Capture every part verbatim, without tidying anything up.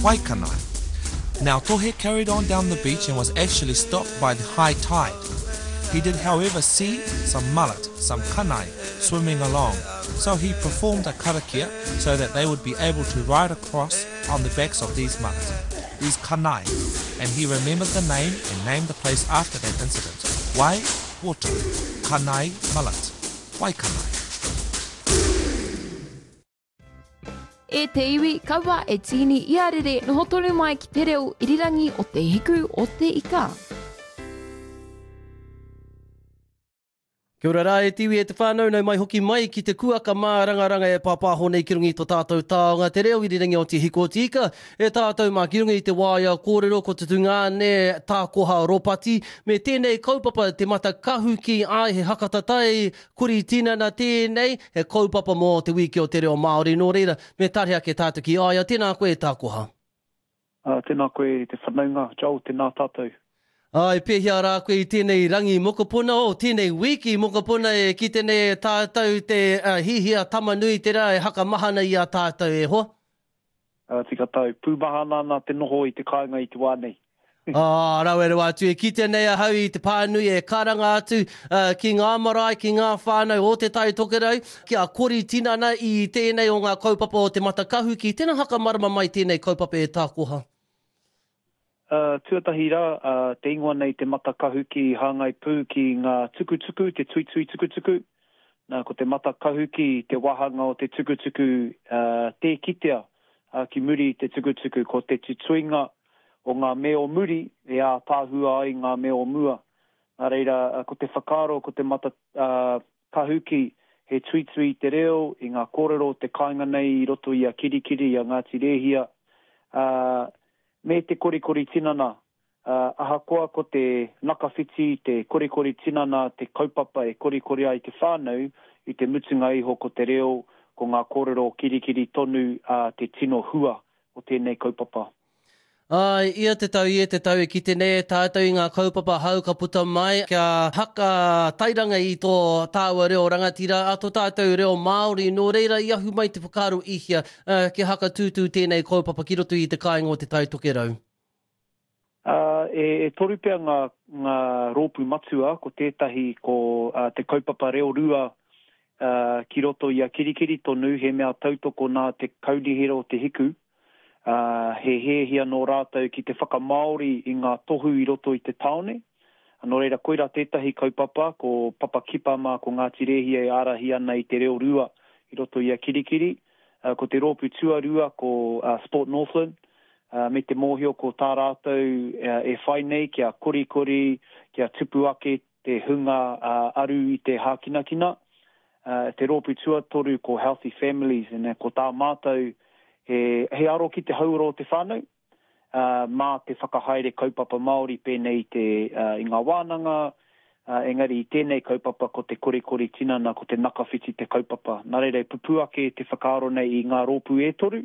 Waikanae. Now Tohe carried on down the beach and was actually stopped by the high tide. He did, however, see some mullet, some kanae, swimming along, so he performed a karakia so that they would be able to ride across on the backs of these mullet, these kanae, and he remembered the name and named the place after that incident. Wai, water, kanae, mullet, Waikanae. E te iwi, kaua e tīni i a rere, noho tonu mai ki te reo irirangi o te hiku o te ika. Kia ora rā e te iwi e te whānau, nau mai hoki mai ki te kuaka mārangaranga e pāpāho nei ki runga i tō tātou taonga, te reo irirangi o te hiku o te ika, e tātou mā ki runga i te waea kōrero ko te tungāne tākoha ropati, me tēnei kaupapa te matakahuki ai he hakatatai kuri tinana tēnei, he kaupapa mō te wiki o te reo Māori, nō reira, me tare ake tātou ki aia, tēnā koe e tākoha. Uh, tēnā koe te whanaunga, Joel, tēnā tātou. Ai, pēhea rā koe i tēnei rangi mokopuna, o tēnei wiki mokopuna e ki tēnei tātou te uh, hihia tamanui te rā e hakamahana i a tātou e hoa? Uh, tika tau, pūmahana ana te noho i te kāinga i te wā nei. Ah, rawe rawa atu e kite nei ahau i te pānui e karanga atu uh, ki ngā marae, ki ngā whānau o Te Tai Tokerau, ki a kori tinana i tēnei o ngā kaupapa o te Matakahuki. Tēnā hakamarama mai tēnei kaupapa e tākoha. Uh, tuatahi rā, uh, te ingoa nei te Matakahuki hāngai pū ki ngā tukutuku, te tuitui tukutuku. Nā, ko te Matakahuki te wāhanga o te tukutuku uh, tē kitea uh, ki muri i te tukutuku. Ko te tutuinga o ngā mea o muri e ātāhua ai ngā mea o mua. Nā reira, uh, ko te whakaaro, ko te Matakahuki uh, he tuitui te reo i ngā kōrero o te kāinga nei i roto i a Kirikiri, i a Ngāti Rēhia. Uh, me te korikori tinana, uh, ahakoa ko te nakawhiti, te korikori tinana, te kaupapa e korikori ai te whānau, i te mutunga iho ko te reo, ko ngā kōrero kirikiri tonu uh, te tino hua o tēnei kaupapa. Ai, ia te tau, ia te tau e kite nei e tātou i ngā kaupapa hau ka puta mai kia haka tairanga i tō tāua reo rangatira, a tō tātou reo Māori, nō reira i ahu mai te whakaaro ihia uh, kia haka tūtū tēnei kaupapa ki roto i te kāinga o Te Tai Tokerau. Uh, e, e toru pea ngā, ngā rōpū matua, ko tētahi ko uh, te kaupapa reo rua uh, ki roto i a Kirikiri tonu, he mea tautoko nā te kaunihera o Te Hiku. Uh, he hēhia nō rātou ki te whakamāori i ngā tohu i roto i te tāone. Nō reira, koira tētahi kaupapa, ko Papa Kipa mā, ko Ngāti Rēhia e ārahi ana i te reo rua i roto i a Kirikiri. Uh, ko te rōpū tuarua, ko uh, Sport Northland, uh, me te mōhio ko tā rātou uh, e whai nei kia korikori, kia tupu ake te hunga uh, aru i te hākinakina. Uh, te rōpū tuatoru ko Healthy Families, and, uh, ko tā mātou He, he aro ki te hauora o te whānau, uh, mā te whakahaere kaupapa Māori pēnei te, uh, i ngā wānanga, uh, engari i tēnei kaupapa ko te korikori tinana, ko te nakawhiti te kaupapa. Nā reira e pupū ake te whakaaro nei i ngā rōpū e toru,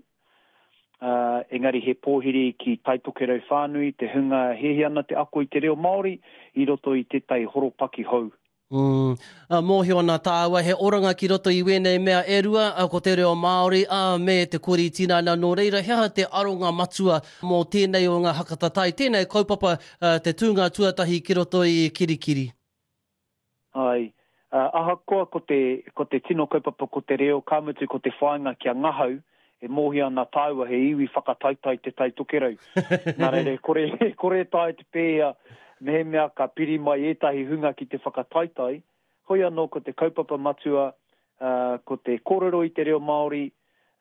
uh, engari he pōhiri ki Tai Tokerau whānui, te hunga hehe ana te ako i te reo Māori i roto i tētahi horopaki hou. Mm. Uh, mōhio ana tāua, he oranga ki roto i wēnei mea e rua, uh, ko te reo Māori, uh, me te kori tinana nō reira, he aha te aronga matua mō tēnei o ngā hakatatai, tēnei kaupapa uh, te tūnga tuatahi ki roto i Kirikiri. Ai, uh, ahakoa ko te, ko te tino kaupapa ko te reo, ka mutu ko te whāinga kia ngahau, e mōhio ana tāua he iwi whakataitai te Tai Tokerau. Nā reira, kore, kore tae te pēhea, mehemea ka piri mai ētahi hunga ki te whakataitai, hoi anō ko te kaupapa matua, uh, ko te kōrero i te reo Māori,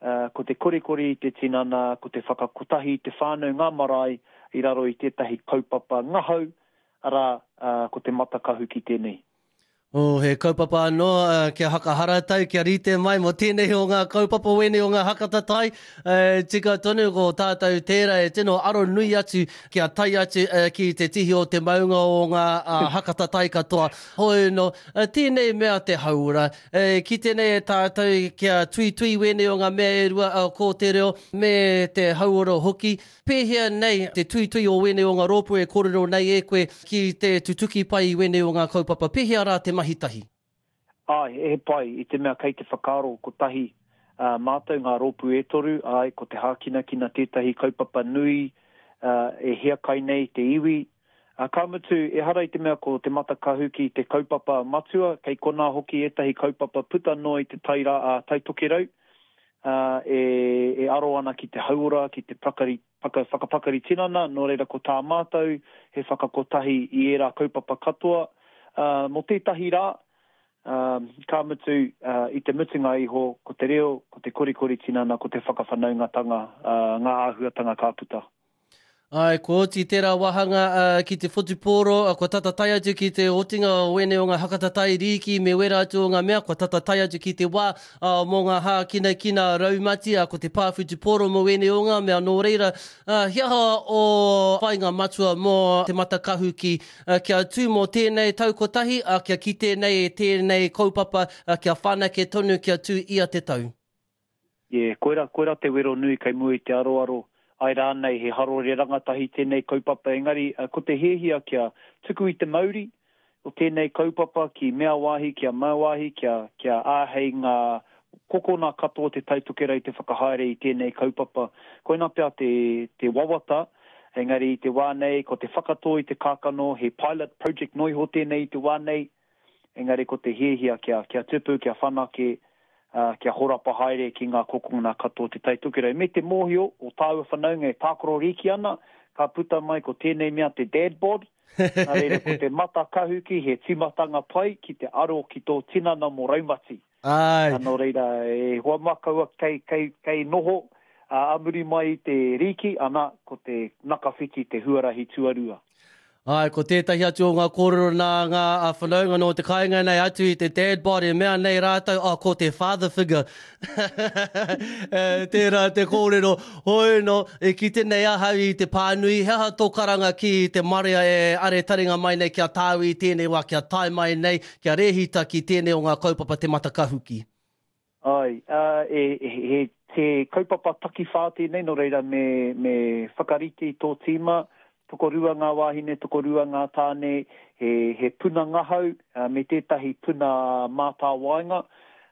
uh, ko te korikori i te tinana, ko te whakakotahi i te whānau ngā marae i raro i tētahi kaupapa ngahau, arā, uh, ko te Matakahuki tēnei. Oh, he kaupapa anō, uh, kia hakaharatau, kia rite mai mō tēnei o ngā kaupapa wēnei o ngā hakatatai. Uh, tika tonu ko tātou tērā e tino aro nui atu kia tai atu uh, ki te tihi o te maunga o ngā uh, hakatatai katoa. Hoi no, uh, tēnei mea te hauora. Uh, ki tēnei e tātou kia tuitui wēnei o ngā mea e rua uh, ko te reo me te hauora hoki. Pēhea nei te tuitui o wēnei o ngā rōpū e kōrero nei e koe ki te tutuki pai i wēnei o ngā kaupapa. Pēhea rā te mahi tahi? Ai, he pai i te mea kei te whakaaro kotahi uh, mātou ngā rōpū e toru, ai, ko te hākinakina tētahi kaupapa nui uh, e hiakai nei te iwi. Uh, ka mutu, ehara i te mea ko Te Matakahuki te kaupapa matua, kei konā hoki ētahi kaupapa puta noa i te tai, rā, uh, tai tokerau, uh, e, e aro ana ki te hauora, ki te pakari, paka, whakapakari tinana, nō reira ko tā mātou, he whakakotahi i ērā kaupapa katoa. Uh, mō tētahi rā, um, ka mutu, uh, i te mutunga iho, ko te reo, ko te korikori tinana, ko te whakawhanaungatanga, uh, ngā āhuatanga ka puta. Ai, kua oti tērā wāhanga uh, ki te whutupōro, uh, kua tata tae atu ki te otinga o wēnei o ngā hakatatai rīki me wera atu o ngā mea, kua tata tae atu ki te wā uh, mō ngā hākinakina raumati, uh, ko te pā whutupōro mō wēnei o ngā mea. Nō reira, uh, he aha o whāinga matua mō Te Matakahuki, uh, kia tū mō tēnei tau kotahi, uh, kia kite nei e tēnei kaupapa, uh, kia whanake tonu, kia tū ia te tau. Yeah, koira, koira te wero nui kei mua i te aroaro. Ai rānei he harore rangatahi tēnei kaupapa, engari ko te hiahia kia tuku i te mauri o tēnei kaupapa ki mea wāhi, kia mau wāhi, kia, kia āhei ngā kokona katoa te Tai Tokerau te whakahaere i tēnei kaupapa. Koina pea te, te wawata, engari i te wā nei, ko te whakatō i te kākano, he pilot project noa iho tēnei i te wā nei, engari ko te hiahia kia, kia tupu, kia whanake, Uh, kia horapa haere ki ngā kokona katoa te Tai Tokerau. Me te mōhio o tāua whanaunga e tākaro rīki ana, ka puta mai ko tēnei mea te dad bod, nā reira ko te Matakahuki he tīmatanga pai ki te aro ki tō tinana mō raumati. Ai. Nō reira, e hoa mā kaua kei, kei, kei noho uh, a muri mai i te rīki, ana ko te nakawhiti te huarahi tuarua. Ai, ko tētahi atu o ngā kōrero nā ngā whanaunga nō te kāinga nei atu i te dad bod e mea nei rātou, oh, ko te father figure. E, tērā te kōrero, hoi no, e kite nei ahau i te pānui, he aha tō karanga ki te marea e are taringa mai nei kia tāu i tēnei wā, kia tae mai nei, kia rehita ki tēnei o ngā kaupapa Te Matakahuki. Ai, uh, e, e, he te kaupapa takiwhā tēnei, nō reira me, me whakarite i tō tīma, tokorua ngā wāhine, tokorua ngā tāne, he, he puna ngahau, uh, me tētahi puna mātāwaenga.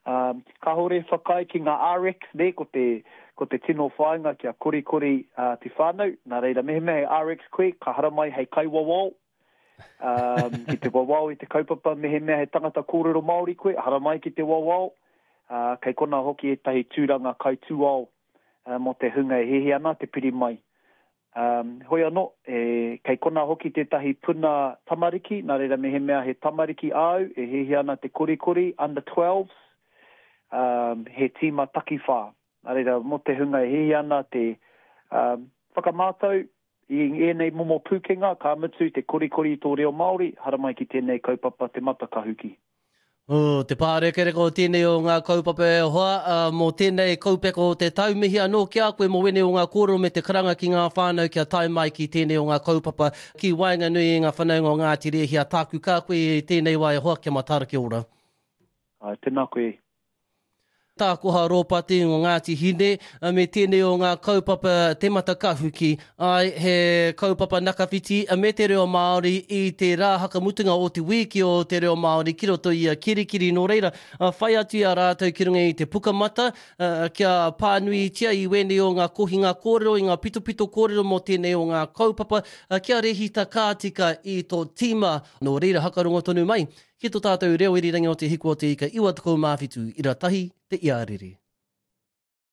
Um, kāhore whakaae ki ngā R X, ne, ko te, ko te tino whāinga kia korikori uh, te whānau. Nā reira, mehemea he R X koe, ka haramai hei kaiwawao, um, ki te wawao i te kaupapa, mehemea he tangata kōrero Māori koe, haramai ki te wawao, uh, kei kona hoki ētahi tūranga kaitūao uh, mō te hunga e hihi ana te piri mai. Um, hoi anō, e, kei kona hoki tētahi puna tamariki, nā reira mehemea he tamariki āu, e hihi ana te korikori, under twelves, um, he tīma takiwhā. Nā reira, mō te hunga e hihi ana te um, whakamātau i ēnei momo pūkenga, ka mutu te korikori i tō reo Māori, haramai ki tēnei kaupapa Te Matakahuki. Oh, te pārekereka o tēnei o ngā kaupapa e hoa, uh, mō tēnei kaupeka o te tau, mihi anō ki a koe mō wēnei o ngā kōrero me te karanga ki ngā whānau kia tae mai ki tēnei o ngā kaupapa ki waenganui i ngā whanaunga o Ngāti Rēhia. Tāku kā koe i tēnei wā e hoa, kia mataara kia ora. Ai, tēnā koe. Tākoha Rōpati o Ngāti Hine, me tēnei o ngā kaupapa Te Matakahuki. Ai, he kaupapa nakawhiti me te reo Māori i te rā hakamutunga o te wiki o te reo Māori ki roto i a Kirikiri. Nō reira, whai atu i a rātou ki runga i te pukamata, kia pānuitia i wēnei o ngā kohinga kōrero, i ngā pitopito kōrero mō tēnei o ngā kaupapa, kia rehita kātika i tō tīma. Nō reira, hakarongo tonu mai ki tō tātou reo irirangi o te hiku o te ika iwa tekau mā whitu, ira tahi, te iarere.